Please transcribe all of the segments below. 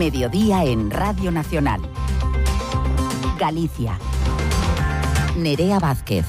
Mediodía en Radio Nacional. Galicia. Nerea Vázquez.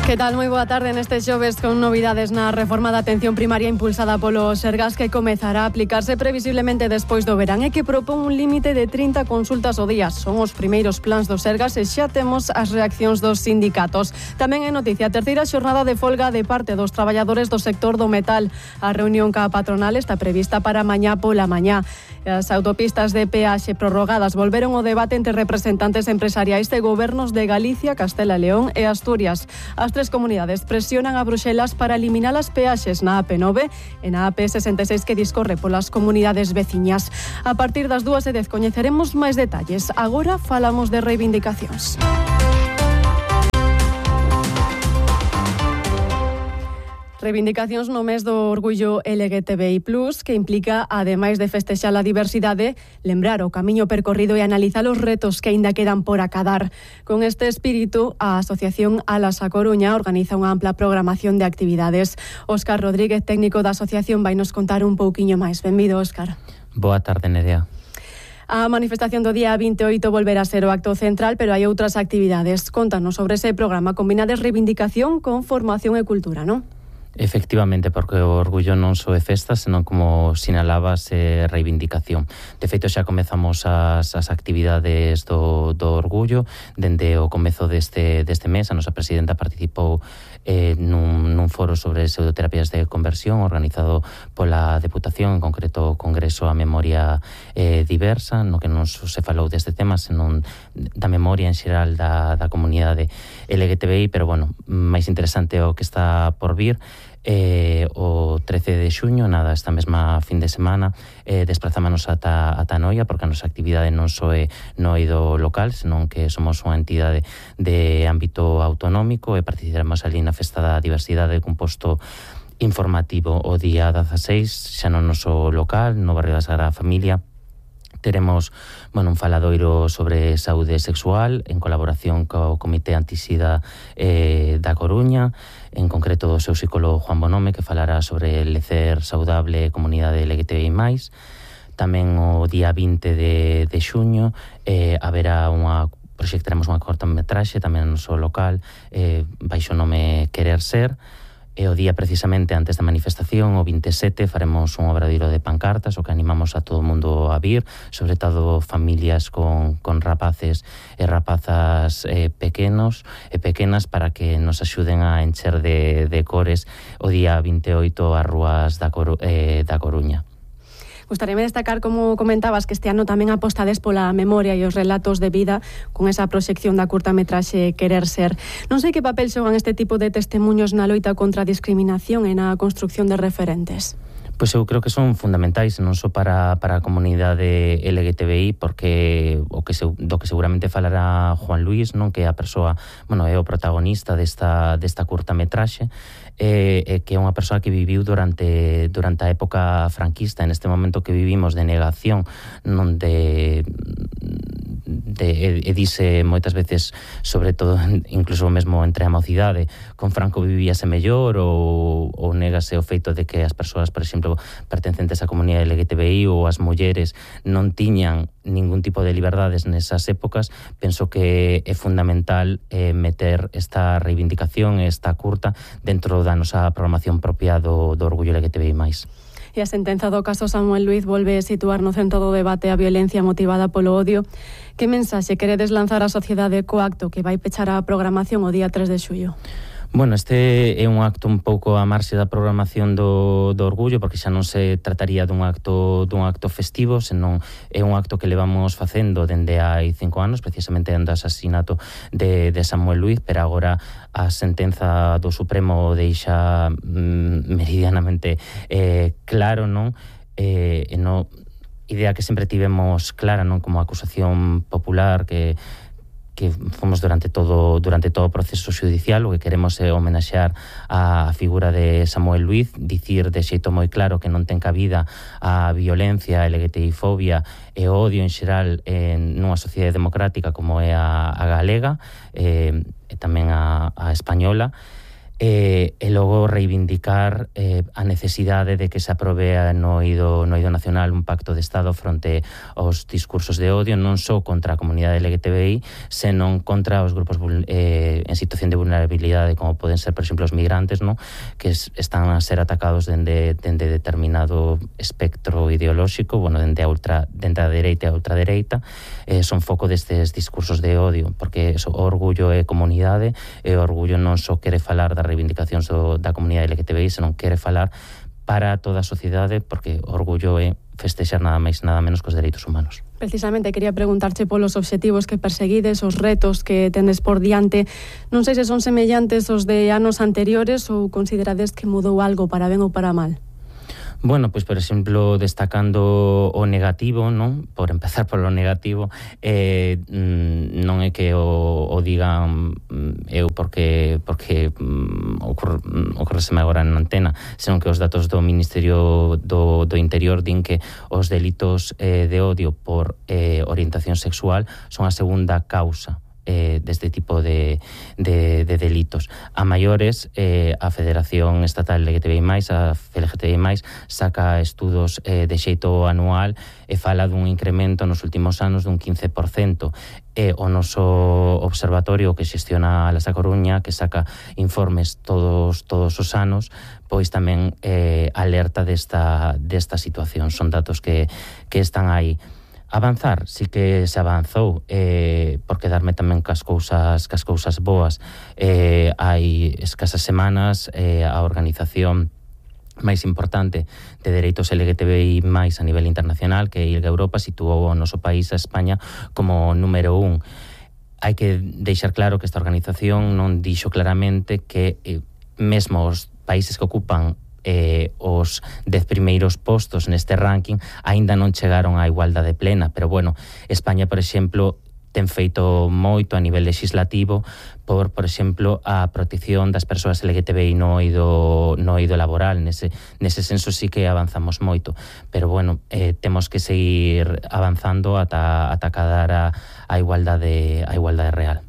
Que tal? Moi boa tarde neste xoves con novidades na reforma da atención primaria impulsada polo Sergas que comezará a aplicarse previsiblemente despois do verán e que propón un límite de 30 consultas ao día. Son os primeiros plans do Sergas e xa temos as reaccións dos sindicatos. Tamén é noticia a terceira xornada de folga de parte dos traballadores do sector do metal. A reunión ca patronal está prevista para mañá pola mañá. As autopistas de peaxe prorrogadas volveron ao debate entre representantes empresariais de gobernos de Galicia, Castela e León e Asturias. As tres comunidades presionan a Bruxelas para eliminar as peaxes na AP9 e na AP66 que discorre polas comunidades veciñas. A partir das 2:10 coñeceremos máis detalles. Agora falamos de reivindicacións. Reivindicacións no mes do orgullo LGTBI+, que implica, ademais de festexar a diversidade, lembrar o camiño percorrido e analizar os retos que aínda quedan por acadar. Con este espírito, a Asociación Alas a Coruña organiza unha ampla programación de actividades. Óscar Rodríguez, técnico da asociación, vai nos contar un pouquiño máis. Benvido, Óscar. Boa tarde, Nerea. A manifestación do día 28 volverá a ser o acto central, pero hai outras actividades. Contanos sobre ese programa. Combinades reivindicación con formación e cultura, non? Efectivamente, porque o orgullo non só é festa, senón como sinalabas reivindicación. De feito, xa comezamos as actividades do orgullo dende o comezo deste mes. A nosa presidenta participou nun foro sobre pseudoterapias de conversión organizado pola Deputación, en concreto o Congreso a Memoria Diversa, no que non se falou deste tema, senón da memoria en xeral da comunidade LGTBI, pero bueno, máis interesante o que está por vir. O 13 de xuño, nada, esta mesma fin de semana, desplazámonos ata Noia, porque a nosa actividade non só é no eido local, senón que somos unha entidade de ámbito autonómico e participaremos ali na Festa da Diversidade cun posto informativo o día 16, xa no noso local, no barrio da Sagrada Familia. Teremos, un faladoiro sobre saúde sexual en colaboración co Comité Antisida da Coruña, en concreto do seu psicólogo Juan Bonome, que falará sobre el lecer saudable e comunidade LGTBI+. Tamén o día 20 de xuño proxectaremos unha cortometraxe tamén no noso local, baixo o nome Querer Ser. E o día precisamente antes da manifestación, o 27, faremos un obradoiro de pancartas, o que animamos a todo o mundo a vir, sobre todo familias con rapaces e rapazas pequenos e pequenas, para que nos axuden a encher de cores o día 28 as rúas da Coruña. Gustaríame destacar, como comentabas, que este ano tamén apostades pola memoria e os relatos de vida con esa proxección da curtametraxe Querer Ser. Non sei que papel xogan este tipo de testemunhos na loita contra a discriminación e na construcción de referentes. Pois eu creo que son fundamentais non só para a comunidade LGTBI, porque do que seguramente falará Juan Luis, non, que é a persoa, é o protagonista desta curtametraxe, que é unha persoa que viviu durante a época franquista, en este momento que vivimos de negación, non dice moitas veces, sobre todo incluso mesmo entre a mocidade, con Franco vivíase mellor, ou negase o feito de que as persoas, por exemplo, pertencentes á comunidade LGTBI ou as mulleres non tiñan ningún tipo de liberdades nesas épocas. Penso que é fundamental meter esta reivindicación, esta curta, dentro da nosa programación propia do orgullo LGTBI+. E a sentenza do caso Samuel Luiz volve a situar no centro do debate a violencia motivada polo odio. Que mensaxe queredes lanzar á sociedade co acto que vai pechar a programación o día 3 de xullo? Este é un acto un pouco a marxe da programación do orgullo, porque xa non se trataría dun acto festivo, senón é un acto que levamos facendo dende hai 5 anos, precisamente dende o asasinato de Samuel Luiz, pero agora a sentenza do Supremo deixa meridianamente claro, non? Idea que sempre tivemos clara, non, como acusación popular, que fomos durante todo o proceso judicial. O que queremos é homenaxear a figura de Samuel Luiz, dicir de xeito moi claro que non ten cabida a violencia, a LGTBI-fobia e o odio en xeral nunha sociedade democrática como é a galega e tamén a española. e logo reivindicar a necesidade de que se aprobe no eido nacional un pacto de Estado fronte aos discursos de odio, non só contra a comunidade LGTBI, senón contra os grupos en situación de vulnerabilidade, como poden ser, por exemplo, os migrantes, no? Que están a ser atacados dende determinado espectro ideolóxico, bueno, dende a dereita e a ultradereita, son foco destes discursos de odio, porque o orgullo é comunidade, e o orgullo non só quere falar das reivindicacións da comunidade LGTBI, senón quere falar para toda a sociedade, porque o orgullo é festexar nada máis nada menos que os dereitos humanos. Precisamente quería preguntarche polos obxectivos que perseguides, os retos que tendes por diante. Non sei se son semellantes aos de anos anteriores ou considerades que mudou algo para ben ou para mal. Bueno, pois, por exemplo, destacando o negativo, non? Por empezar polo negativo, non é que o digan eu porque ocorreseme agora na antena, senón que os datos do Ministerio do Interior din que os delitos de odio por orientación sexual son a segunda causa deste tipo de delitos. A maiores, a Federación Estatal LGTBI+, a FLGTBI+, saca estudos de xeito anual e fala dun incremento nos últimos anos dun 15%. E o noso observatorio que xestiona a Lasa Coruña, que saca informes todos os anos, pois tamén alerta desta situación. Son datos que están aí. Avanzar, sí que se avanzou, por quedarme tamén cas cousas boas. Hai escasas semanas a organización máis importante de dereitos LGTBI máis a nivel internacional, que é ILGA Europa, situou o noso país, a España, como número 1. Hai que deixar claro que esta organización non dixo claramente que mesmo os países que ocupan os 10 primeiros postos neste ranking aínda non chegaron á igualdade plena, pero bueno, España, por exemplo, ten feito moito a nivel legislativo por exemplo, a protección das persoas LGTBI no eido laboral. Nese senso sí que avanzamos moito, pero bueno, temos que seguir avanzando ata cadar a igualdade real.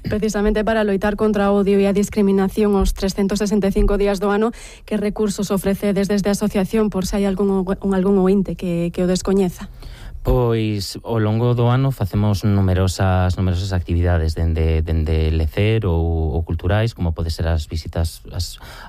Precisamente para loitar contra o odio e a discriminación os 365 días do ano, que recursos ofrecedes desde a asociación, por se hai algún ointe que o descoñeza? Pois ao longo do ano facemos numerosas actividades dende lecer ou culturais, como pode ser as visitas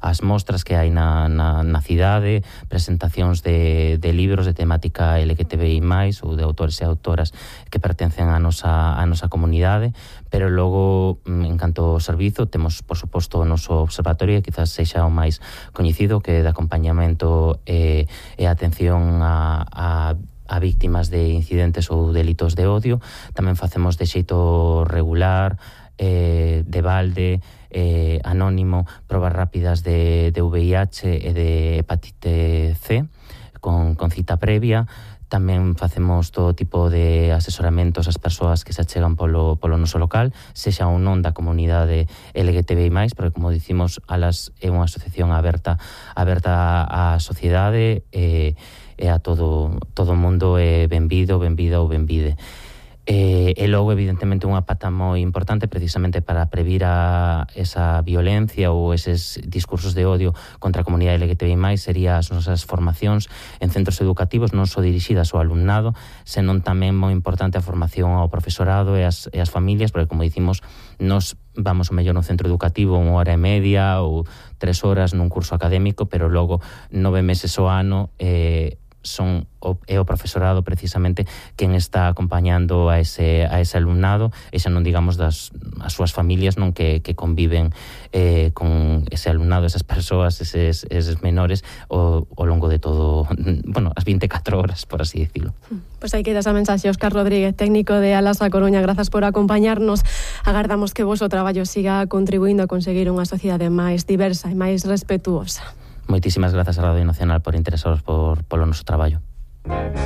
as mostras que hai na cidade, presentacións de libros de temática LGTBI+, ou de autores e autoras que pertencen á nosa comunidade, pero logo, en canto ao servizo, temos, por suposto, o noso observatorio, que quizás sexa o máis coñecido, que é de acompañamento e atención a víctimas de incidentes ou delitos de odio. Tamén facemos de xeito regular, de balde, anónimo, probas rápidas de VIH e de hepatite C con cita previa. Tamén facemos todo tipo de asesoramentos ás persoas que se achegan polo noso local, sexa ou non da comunidade LGTBI+, porque, como dicimos, Alas é unha asociación aberta á sociedade e a todo o mundo é benvida ou benvide. E logo, evidentemente, unha pata moi importante precisamente para previr esa violencia ou eses discursos de odio contra a comunidade LGTBI+, sería as nosas formacións en centros educativos, non só dirixidas ao alumnado, senón tamén moi importante a formación ao profesorado e as familias, porque, como dicimos, nos vamos ao mellor no centro educativo 1 hora e media ou 3 horas nun curso académico, pero logo 9 meses ao ano é o profesorado precisamente quen está acompañando a ese alumnado, e xa non digamos as súas familias, non, que conviven con ese alumnado, esas persoas, eses menores ao longo de todo, bueno, as 24 horas, por así decirlo. Pois aí queda esa mensaxe. Óscar Rodríguez, técnico de Alas A Coruña, grazas por acompañarnos. Agardamos que o voso traballo siga contribuindo a conseguir unha sociedade máis diversa e máis respetuosa. Moitísimas grazas a Radio Nacional por interesaros polo noso traballo.